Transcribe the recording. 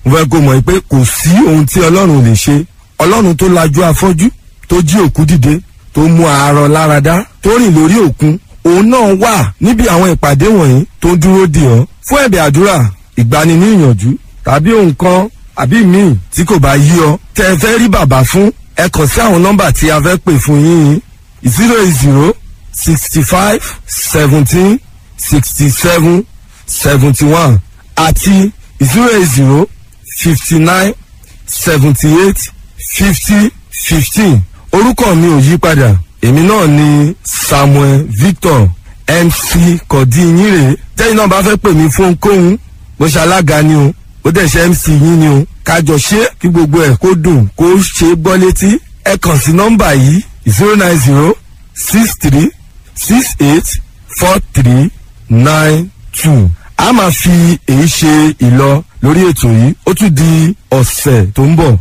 Mo fẹ́ kó mọ̀ pé kò sí ohun tí Ọlọ́run ò lè ṣe. Ọlọ́run tó lajú afọ́jú, tó jí òkú dìde, tó mú àárọ̀ láradá, tó rìn lórí òkun, òun náà wà níbi àwọn ìpàdé wọ̀nyí tó ń dúró dè ọ́. Fún ẹ̀bẹ̀ àdúrà, ìgbani ní ìyànjú tàbí nǹkan àbí míì tí kò bá yí ọ tẹ́ ẹ fẹ́ rí bàbá fún, ẹ kàn sí àwọn nọ́mbà tí a fẹ́ pè fún yín: 08065176771 àti 08059785015. Orúkọ mi ò yí padà, èmi náà ni Samuel Victor MC Kọ̀dínyìnrè. Tẹ́yìn náà bá fẹ́ pè mí fún ohunkóhun, bó ṣe alága ni o, ó dẹ̀ ṣe MC yín ni o, kájọ ṣe kí gbogbo ẹ̀ kó dùn, kó ṣe é gbọ́ létí, ẹ kàn sí nọ́mbà yìí: 09063684392. A máa fi èyí ṣe ìlọ lórí ètò yìí, ó tún di ọ̀sẹ̀ tó ń bọ̀.